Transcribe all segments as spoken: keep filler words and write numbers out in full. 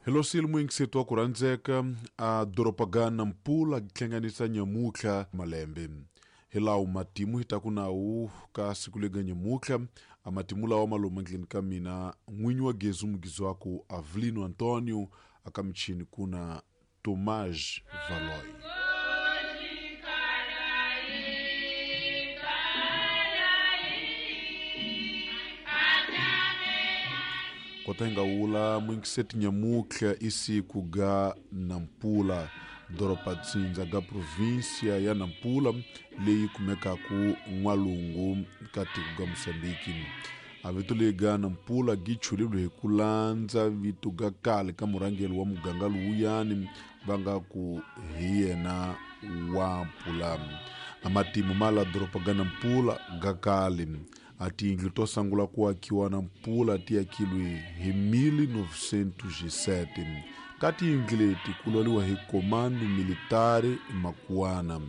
Helosile muyingiseti wa ku rhandzeka a doroba ga Nampula hlanganisa nyamutlha malembe hilawu matimu hi taku nawu ka siku lega nyamutlha a matimu lawa ma lomu ndleni ka mina n'winyi wa gezu mugizwaku Avelino Antonio aka michini kuna Tomás Valoy. Kota hi nga wula muyingiseti nyamutlha i siku ga Nampula doroba tsindza ga província ya Nampula leyi kumekaku n'walungu ka tiko ga Mozambique. A vito leyi ga Nampula gi chulilwe hi ku landza vito ga kale ka murhangeri wa muganga lowuyani va nga ku hi yena wa Mpula. A matimu ma la doroba ga Nampula ga kale a tiyindlu to sungula ku akiwa Nampula ti akilwe hi mil novecentos e sete. Ka tiyindlu leti ku lwaliwa hi Comando Militare Makuana,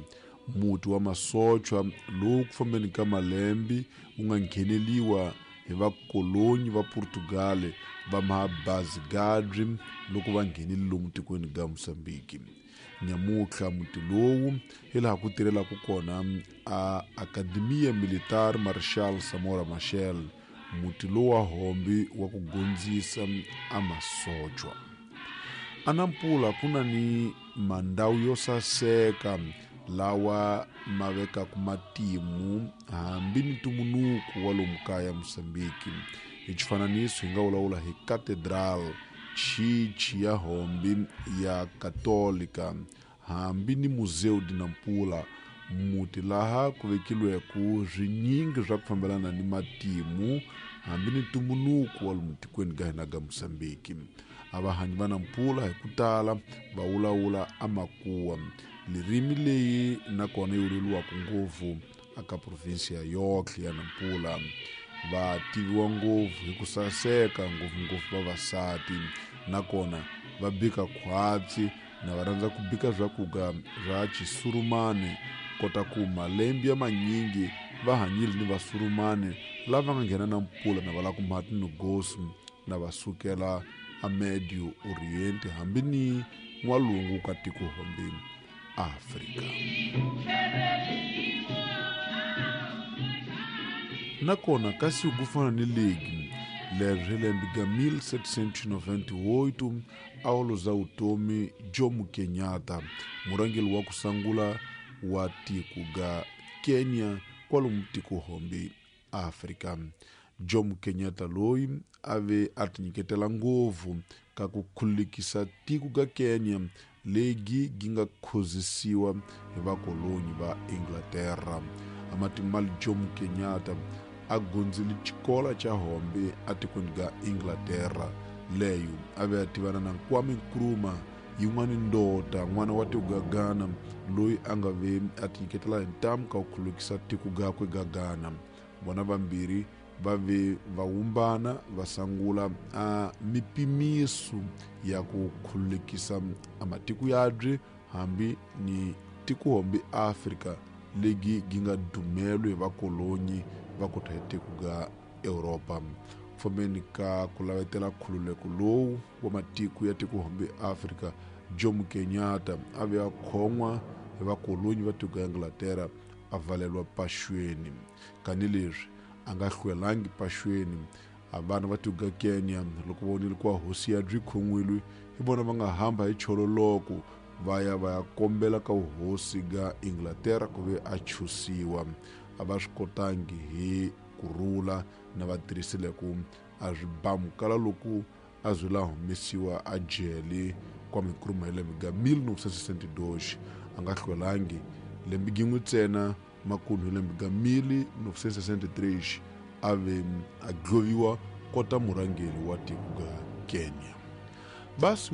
muti wa masochwa lowu ku fambeni ka malembe wu nga ngheneliwa hi vakolonyi va Portugal va Mabazigadri loko va nghenile lomu tikweni ga Mozambique. Nyamutlha muti lowu hi laha ku tirhelaka kona a Academia Militar Marshal Samora Machel, muti lowu wa hombi wa ku gondzisa a masochwa. A Nampula ku na ni mandhawu yo saseka lawa ma vekaka matimu hambi ni ntumbuluko wa lomu kaya Mozambique. Hi xifananiso hi nga vulavula hi Cathedral, chichi ya hombi ya Katolika, hambi ni Museu de Nampula, muti laha ku vekilweke swinyingi swa ku fambelana ni matimu hambi ni ntumbuluko wa lomu tikweni ga hina ga Mozambique. A vahanyi va Nampula hi ku tala va vulavula amakuwa, ririmi leyi nakona yi vulavuriwaka ngopfu aka provinsia yohle ya Nampula. Va tiviwa ngopfu hi ku saseka ngopfungopfu vavasati, nakona va bika khwatsi na va rhandza ku bika swakudya swa xisurumani kota ku malembe ya manyingi va hanyile ni vasurumani lava nga nghena Nampula na va lava ku mha tinogosi na va sukela a Medio Oriente hambi ni n'walungu ka tiko hombi Afrika. Nakona ka siku ku fana ni legi leri hi lembe ga mil setecentos e noventa e oito a wu za vutomi Jomo Kenyatta, murhangeri wa ku sungula wa tiko ga Kenya kwalomu tiko hombi Afrika. Jomo Kenyatta loyi a ve a tinyiketela ngopfu ka ku khulukisa tiko ga Kenya legi gi nga khozisiwa hi vakolonyi va Inglaterra. A matimu ma Jomo Kenyatta a gondzile xikolo xa hombe atikweni ga Inglaterra leyo a ve a tivana na Kwame Nkrumah, yin'wani ndota n'wana wa tiko ga Ghana loyi a nga ve a tinyiketela hi ntamu ka ku khulukisa tiko gakwe ga Ghana. Vona vambirhi va ve va wumbana va sungula a mipimiso ya ku khulukisa a matiko yabye hambi ni tiko hombi Afrika legi gi nga dumelwe hi vakolonyi va kota hi tiko ga Europa. Fambeni ka ku lavetela khululeko lowu wa matiko ya tiko hombi Afrika, Jomo Kenyatta a ve a khon'wa hi vakolonyi va tiko ya Inglaterra a valelwa paxweni. Kani leswi a nga hlwelangi paxweni, a vana va tiko ga Kenya loko va vonile ku hosi ya byi khon'wile hi vona va nga hamba hi chololoko va ya va ya kombela ka vuhosi ga Inglaterra ku ve a chusiwa. A va swi kotangi hi kurhula na va tirhisile ku a swi bamukala loko a zwi la humesiwa a jele Kwame Nkrumah hi lembe ga mil novecentos e sessenta e dois. A nga hlwelangi lembe gin'we ntsena makunhu hi lembe ga mil novecentos e sessenta e três a ve a dloviwa kota murhangeri wa tiko ga Kenya. Basi